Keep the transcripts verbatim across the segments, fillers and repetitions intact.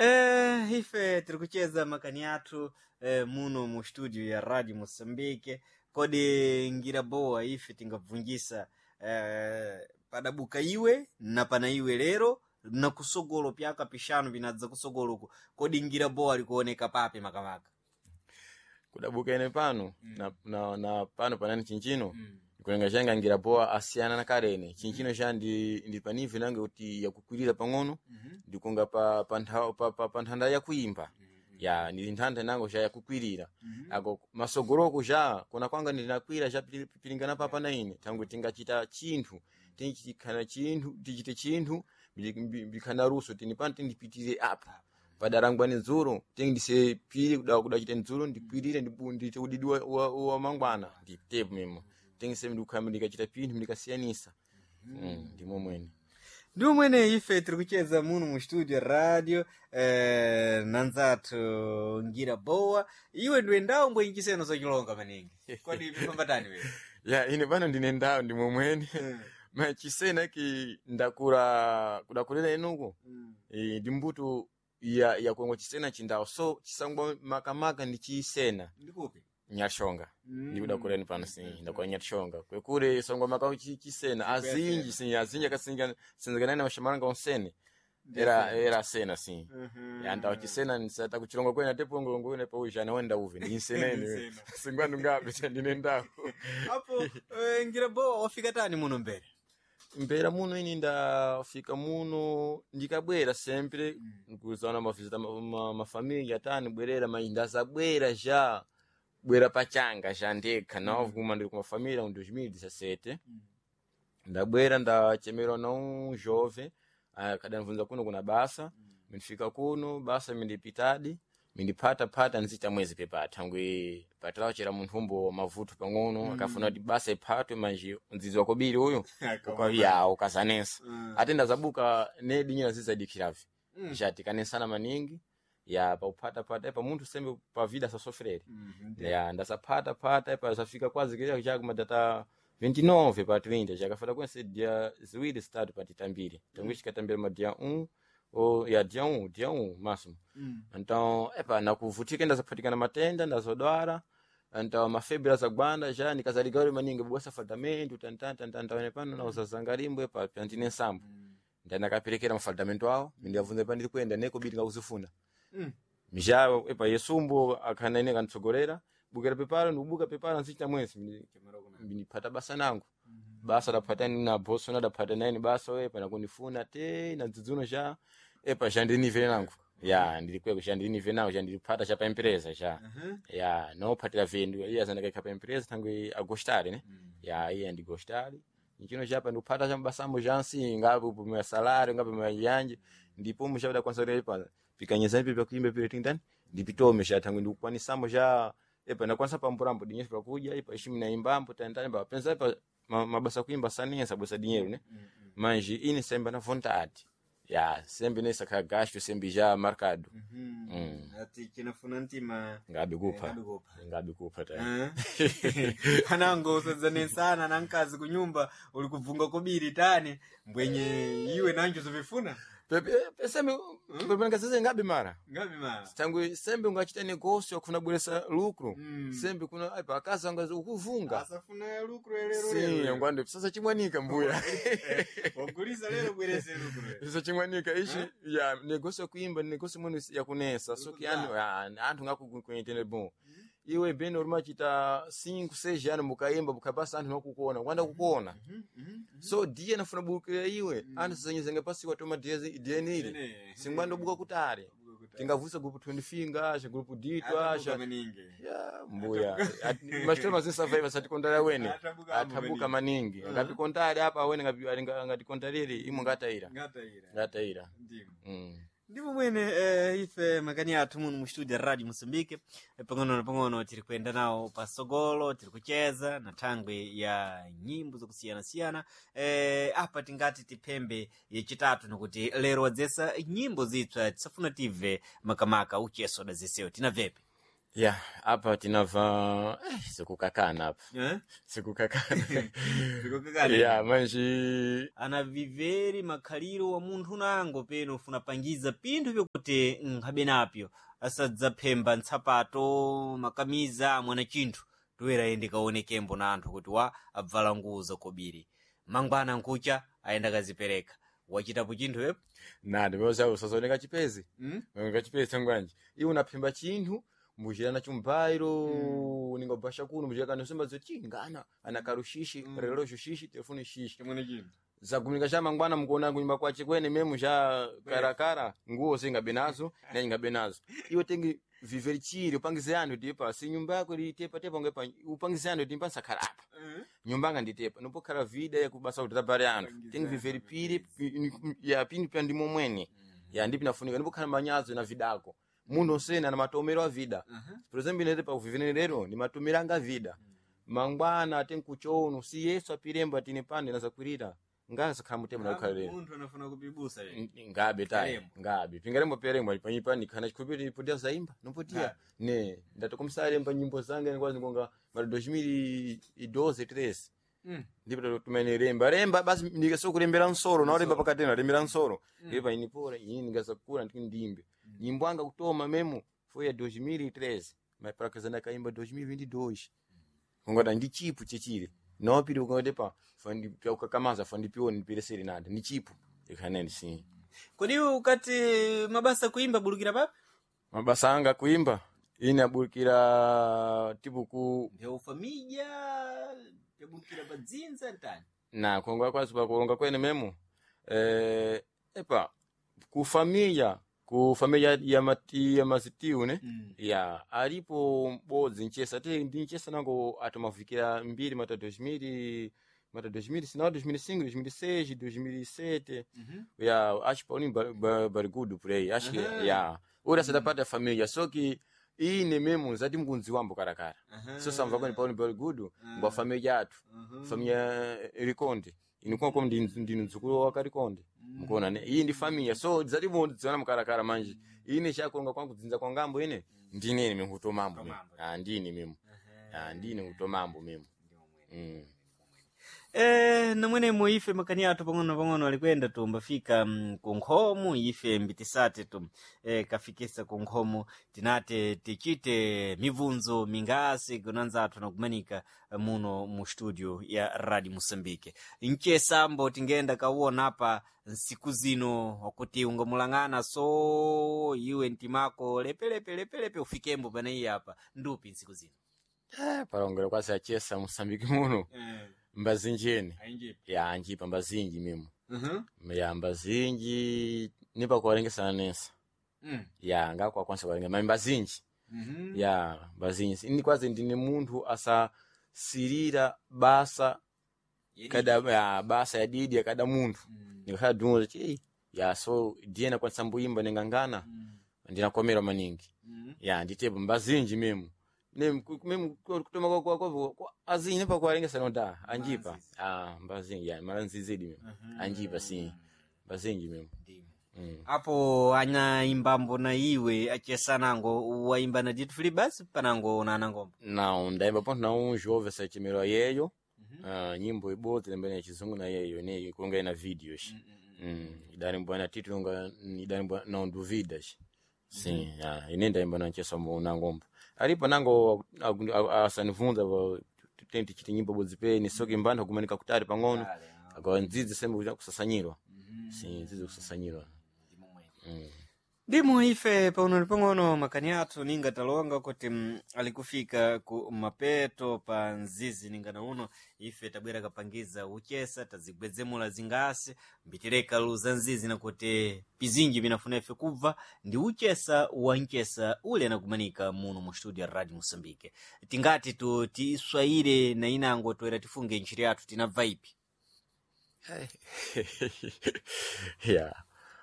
Eh, ife tiri kucheza makani athu eh, muno mu studio ya Radio Mosambike. Kodi ngira bowa ife tingabvungisa eh, padabuka iwe na pana iwe lero na kusogolo pyaka pishanu vinadza kusogoloku, kodi ngira bowa likuoneka papi makamaka? Kudabuka ene pano na, na, na pano panani chinchino nikulenga changa ngira poa asiyana na karene chinchino cha ndi ndi panivi nange kuti yakukwirira pang'ono ndikunga pa pa nthaw- pa, pa, pa nthanda yakuimba ya ndi nthanda nango cha yakukwirira ako masogoloko cha kona kwanga ndinakwira cha pili- pilingana papa na ine tangu tingachita chinthu tinchikhana chinthu tichite chinthu mbikhana ruso tini pano tindipitire apa padarangwani dzulo tindise pili kuda kudachita dzulo ndikwirire ndipu- ndiite udidi wa, wa, wa mangwana nditepo mimo tingise ndikukhala ndikachita pinthu ndikasiyanisa mm, ndimo mwene. Ndi mwene ife tiri kucheza muno mu studio radio eh, nanzathu ngira bowa. Iwe ndiwe ndawo mbwenchiseno zochilonga maningi, kodi pifambatani wewe? Ya, ine pano ndine ndawo ndimo mwene ma chisena ki ndakura kudakulira inuko e, ndi mbuto ya yakuengwa chisena chindawo so chisangwa makamaka ndi chisena. Ndikupi? Nyashonga ndikudakuleni pano si ndakula nyashonga kwekure sangwa maka chi- chisena azinji si azinji akasinga sinzikana na mashamaranga onsene era era sena si ya ndawo chisena nsata kuchilongo kwena tepo ngolongo kwene pa ujana wenda uve ndi nsenene singwandu ngabe ndine ndawo. Apo eh, ngira bowa wafika tani muno mbere? Mpera muno ini ndafika muno ndikabwera sempre nkuzaona mavizita mafamilia tani bwerera ma ndazabwera ja bwera pachanga ja ndekha nawo kuma ndili kumafamilia mu dois mil dezessete ndabwera ndachemerwa na um jovem akadanivunza kuno kuna basa mindifika kuno basa mindipitadi mindiphatapata nzita mwezi pepa thangwi patalawo chera munthu umbo mavuto pang'ono akafuna kuti basa iphatwe manje mdzidzi wakobiri uyu Uka- ya ukazanensa ate ndazabuka ne dinyera zizadikiravi mm. jatikanesana maningi ya pauphatapata pa munthu sembe pa vida sasofrere ya ndasaphatapata pa zafika kwazi kile cha kumadata vinte e nove pa trinta chakafata kwense dia ziwiri zitatu patitambire tangu chikatambira ma dia um o ya dia um dia um máximo. Então epa nakuvutika ndazaphatikana matenda ndazodwara então mafebra zagwanda já nikazaligaule maningi bwasa faldamento tantantantantawene pano nauzazangalimbo epa pyantine nsambo ndanakaperekera mafaldamento awo mindiyavunza pa ndiri kuyenda neko biri ngakuzifuna mja epa yesumbo akhana ine kanitsogolera bukira peparo ndikubuka peparo nsichita mwezi ndipata basa nangu basa daphata na boso na daphata naine basa epa nakundifuna te na dzidzuno cha epa chandinivele nangu ya ndilikweko chandinivele nangu chandiliphata cha pa empresa cha ya nophatira vindu iye azandakaikha pa empresa thangwi agostare ne ya iye andigostare nchino chapa ndikuphata cha mabasambo jansi ngapo pumwa salário ngapo mayanje ndipo muchauda kwanza kuti epa pikanyeza ipi pakuimba pile tindani ndipitome cha thangwi ndikukwanisamo cha epa nakwanisa pamburambo dinyeso pakudya epa ishimi naimbambo tantani pa pensa epa ma- mabasa kuimba sanensa bwesa dinheiro ne manje ine sembe na vontade ya sembe nesa kha gasto sembe já marcado mm. Ati chinafuna ntima ngabe kupha ngabe kupha. Ngabe kupha ta. Eh? Anango usadzane na mkazi kunyumba uli kubvunga kobiri tani mbwenye iwe nanjo zovifuna. Pepe pe- sembe pepe ngasese ngabe mara ngabi mara tangu sembe ungachita negócio akufuna bweresa lucro Mm. sembe kuna epa akazi anga ukuvunga asafuna lucro lero sim lero ngwando sasa chimwanika mbuya. wagulisa lero bwerese lucro lero. Sasa chimwanika ichi ya negócio yakuimba ni negócio mwene yakunesa so que Ukuzaa. anu ah, anthu ngakukuentende bom iwe bene urimachita cinco seis anos mukaimba mukapasa anthu nakukuona kwanda kukuona so dia nafuna bukira iwe anthu sazanyizanga pasi watoma dia ile Ene. singwandobuka kutare tingavusa grupo twenty acha grupo dito Atabuka acha maningi. ya mbuya machitoro mazinsavaiva satikondala wene. Atabuka ambo. Atabuka maningi ngapikontale apa wene ngapi- ngatikontalire imwe ngataira Ngataira. ngataira Ndimo. Mm. Ndipo mwene eh, ife makani athu muno mu studio ya Radio Mosambike eh, pang'ono na pang'ono tiri kuyenda nawo pasogolo tiri kucheza na thangwi ya nyimbo zakusiyanasiyana eh, apa tingati tiphembe yachitatu nikuti lero wadzesa nyimbo zitsva tisafuna tibve makamaka ucheso dazesewo tinabvepi. Ya apa tinava eh, sikukakana apa Eh? sikukakana. Sikukakana. Ya manji Anaviveri makhaliro wa munthu nango peno ufuna pangiza pinthu vyokuti nkhabe napyo asadzaphemba ntsapato makamiza mwana chinthu toera ayende kaonekembo na anthu kuti wa abvala nguwo zakobiri mangwana nkucha ayenda kazipereka wachitapo chinthu epo na ndimeuza usazooneka chipezi mm? oneka chipezi tangwanji iwe unaphemba chinthu mbuchira nacho mbairo mm. ningobasha kuno mbuchira kano semba zoti ngana ana karushishi mm. relosho shishi telefoni shishi chimwene chinthu zaguminika cha mangwana mukuona kunyumba kwache kwene memu cha karakara nguwo singabe nazo na ingabe nazo iwe tengi viveri chiri upangize anthu tipa si nyumba yako litepa tepa ngepa upangize anthu timpa sakhala apa nyumba anga nditepa nopokhala vida yakubasa kuti tabale anthu tengi viveri piri pi- ya pini pya ndimo mwene ya ndipo nafunika nipokhala manyazo na vidako munthu osena na matomero a vida por exemplo inete pa kuvivenere lero ni matomero anga vida mangwana tenkuchono si yesu apiremba tine pande nazakwirira ngazakhala mutemo nakukhala lero munthu anafuna kupibusa lero N- ngabe tayi Karembo. ngabe pingarembo perembo panyipa nikhana chikhupiri potia zaimba nopotia ne ndatokomsalemba nyimbo zange nikwazi ngonga mara dois mil e doze treze Mm. ndipo tumene remba remba basi ndikasokurembera nsoro naolemba pakati nalembera nsoro ndipo inipora ini ndingazakura ndiki ndimbe nyimbo anga kutoma memo foi ya dois mil e treze mas para casar nakaimba dois mil e vinte e dois kungota ndi chipu chechile nopiri ukangoti pa fandi ukakamaza fandipiwo ndipiresere nada ndi chipu ikhaneni sim kodi ukati mabasa kuimba bulukira papi mabasa anga kuimba ine aburukira tipo ku ndeufamija tebulukira pa dzinza ntani na kuonga kwazi pakulonga kwene memo eh, epa ku familia ku familia ya mati ya mazitiu ne Mm. ya alipo m'bodzi nchesa te ndi nchesa nango atomavikira mbiri mata dois mil mata dois mil sinal dois mil e cinco dois mil e seis dois mil e sete Mhm. ya acho Paulinho Bar- Bar- Barigudo por aí acho que Aham. ya ura mm. parte da família só que ine mesmo zati mkunzi wambo karakara Aham. so samva kwene Paulinho Barigudo ngwa família yathu Aham. família Rikonde inikuwa como ndi ndi mdzukulu wa Karikonde mkuona ne iyi ndi família so zati mudziona mkarakara manje ine chakonga kwangu dzinza kwa ngambo ine ndine ine mkutomambo mimi Kutomambo. ah ndine mimi ah ndine kutomambo mimi mm. Eh, namwenemo ife makani athu pang'ono pang'ono alikwenda tumbafika mm, ku nkhomo ife mbitisate tu eh, kafikisa ku nkhomo tinate tichite mibvunzo mingasi kunanza athu nakumanika eh, muno mu studio ya Radio Mosambike nchesambo tingenda kawona apa nsiku zino wakuti ungamulang'ana so iwe mtimako lepelepe lepelepe ufikembo paneyi apa ndupi nsiku zino Eh, palongera kwasi achesa Mosambiki muno eh, mbazinjeni ya anjipa mbazinji mimo uh-huh. ya mbazinji nipa kuwalengesana nesa mm. ya ngakwakwanisa kuwalenga ma mbazinji mm-hmm. ya mbazinji ini kwazi ndine munthu asasirira basa kada ya basa ya didi ya kada munthu Mm. ndikakhala dunza chi ya so ndiye nakwanisa mbuyimba ningangana Mm. ndinakomera maningi Mm. ya nditepo mbazinji memo ne memo kutoma kwa kwa kwa kwa azinji nepa kuwalengesana nda anjipa Mbazinji. ah mbazinji ya mara nzizidi memo anjipa si mbazinji memo mm. apo anaimbambo na iwe achesanango waimba na Dito Fili basi panango unanangomba Não, ndaimba ponto na um jovem sachimero yeyo uh, nyimbo ibodzi lembene ya chizungu na yeyo ne kulonga ina videos mm. idalimbwa na titulo nga idalimbwa não duvidas sim ah, ine ndaimba na ncheso mo na ngomba alipo nango asanivunza tenti chiti nyimbo bodzi peni soki mbanthu kumanika kutali pang'ono akawa ndzidzi sembe kucha kusasanyirwa sim ndzidzi kusasanyirwa mm. Ndimo ife pang'ono pang'ono makani athu ninga talonga kuti mm, alikufika ku mapeto pa nzizi ningana uno ife tabwera kapangiza uchesa tazigwedzemula zingasi mbitireka luza nzizi nakuti pizinji pinafuna ife kubva ndi uchesa wa nchesa ule anakumanika muno mu studio ya Radio Mosambike tingati tu tiswayire na inango toera tifunge ntchito yathu tinabva ipi yeah.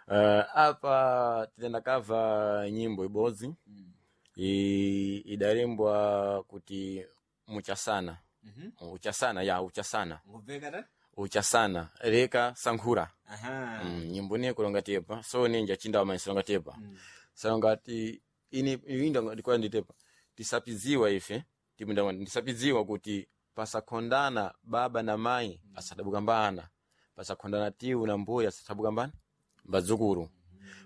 Uh, apa titendakava nyimbo ibodzi mm. I- idalembwa kuti muchasana mm uchasana ya uchasana -hmm. ta uchasana leka sankhura aha mm, nyimbo niye kulonga tepa so ninja chindawa manyi silonga tepa Mm. salonga ti ini inda ndikuwa nditepa Tisapidziwa ife timunda ndisapidziwa kuti pasakhondana baba na mayi asadabukambana, pasakhondana tiwu na mbuya asadabukambana mbadzukulu.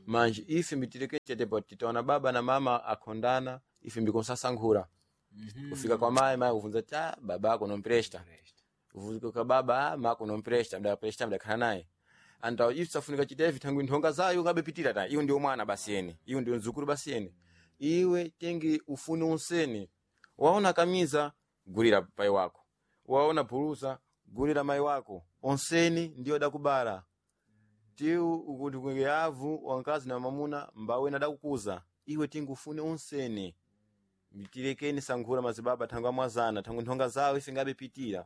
Manje ife mbitireke tetepo titaona baba na mama akhondana, ife mbikosasankhula kufika kwa mayi, mayi kuvunza ti "Ah, babako nompresta", kufika kwa baba, "Ah, mako nompresta", mdapresta mdakhala naye anta ife safunika chitevi thangwi nthonga zayo ngabepitira ta iwe ndiyo mwana basi ene, iwe ndiyo mdzukulu basi ene, iwe tengi ufune unsene. Waona kamiza, gulira pai wako, waona phulusa, gulira mai wako, onseni ndiyo dakubala tiu ukuti kwenge avu wankazi na mamuna mbawena adakukuza iwe tingi ufune unsene. Mtilekeni sankhula mazibaba thangwi amwazana thangwi nthonga zawo ife ngabepitira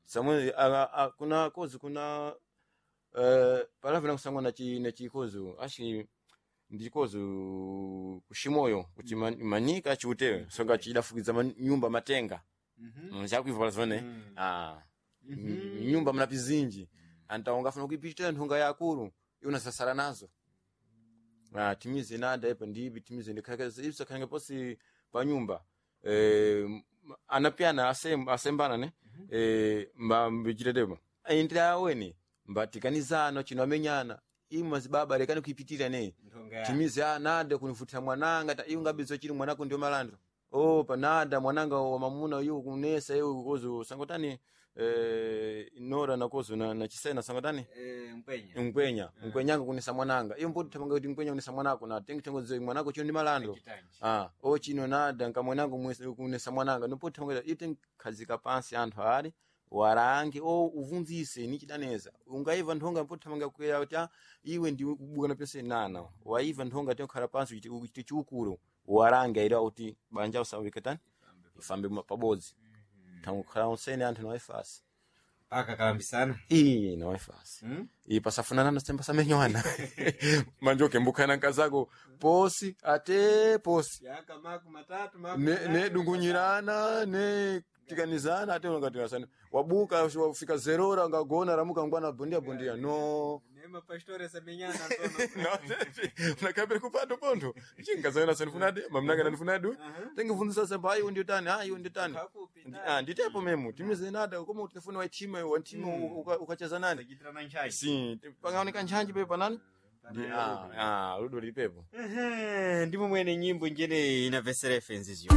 samwe a- a- kuna kozi kuna eh, palavena kusangwa na chi na chikozo ashi ndikozo kushimoyo kuti man- manika chiutewe songa chidafukiza man- nyumba matenga nchakuiva palazone ah nyumba mna pizinji anta ungafuna kuipitira nthunga yakulu iwe nazo. Ah, timize nada ipo ndibi timize ndikhalekeza ibsa khange posi pa nyumba eh anapyana asem, asembana ne eh mba mbichitetemo indira aweni mbatikanizano chino amenyana imwe mazibaba lekani kuipitira ne timize a nada kunifutira mwananga ta iwe ngabizo chili mwanako ndio malandro o panada mwananga wa mamuna yu kunesa iwe kozo sangotani eh nora nakozo na, na chisena sangotani mkwenya mkwenya mkwenyanga kunesa mwananga iyo mboti tamanga kuti mkwenya kunesa mwanako na tengi tengo ze mwanako chino ndi malando ah o chino nada nkamwanango mwese kunesa mwananga nopoti tamanga ite khazika pansi anthu ali warange o uvunzise ni chidaneza ungaiva nthonga mpoti tamanga kuya kuti ah, iwe ndi kubuka na pese nana waiva nthonga tokhala pansi uchite uchite chiukuro warange aira kuti banja usawikatani ifambe pabodzi tangukhala unsene anthu nawaifasi paka kalambisana iyi nawaifasi mm? iyi pasafunana semba samenywana manjoke mbukhana nkazako posi ate posi yaka maku matatu maku ne, matatu, ne dungunyirana ne tikanizana ate ungatirasana wabuka wafika zerora ngagona ramuka ngwana bondia bondia no ne mapastore samenyana ntono unakapere kupando pontho chinkazana sanifunade mamnanga nanifunade tengivunzisa semba ayi ndio tani ayi ndio tani Kakupi, Ndi- ah, nditepo memu timize nada koma utifune waitima wantima ukacheza nani Sajitirana nchai si pangaoneka ntchanji pepo panani Ndi- ah, ah, ludo lipepo Ehe, ndimo mwene nyimbo njene inapesera fenzi zyo.